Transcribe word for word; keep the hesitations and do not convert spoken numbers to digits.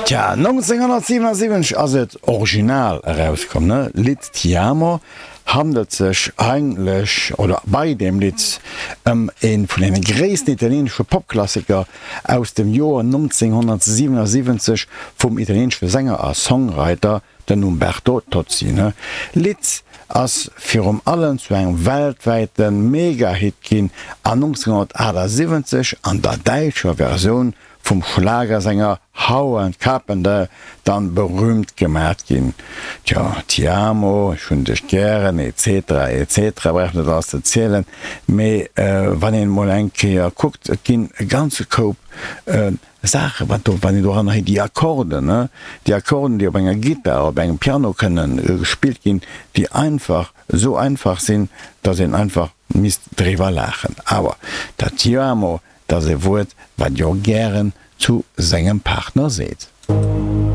Tja, nonzénghonnertsiwenasiwwenzeg ass et original erauskomm, ne? Lidd Ti amo handelt sech eigentlech, oder bei deem Lidd, ëm ee vun deene gréissten italieenesche Popklassiker aus dem Joer nonzénghonnertsiwenasiwwenzeg vum italieenesche Sänger a Songwriter, den Umberto Tozzi. Ne? Lidd ass virum allem zu engem weltwäite Mega-Hit ginn an nonzénghonnertachtasiwwenzeg an der däitscher Versioun vum Schlagersänger Howard Carpendale dann berühmt gemat ginn. Tja, Ti amo, ech hunn dech gären, etc. Etc. Brauch net alles ze zielen, mee wann een emol eng Kéier kuckt, et ginn e ganze Koup Saachen, wat do, wann een doranner héiert, déi Akkorden, ne, déi Akkorden, déi op enger Gittar, op engem Piano kënnen gespillt ginn, déi einfach esou einfach sinn, dass een einfach misst driwwer laachen. Awer dat Ti amo, dat ass e Wuert, wat jo gären zu sengem Partner seet.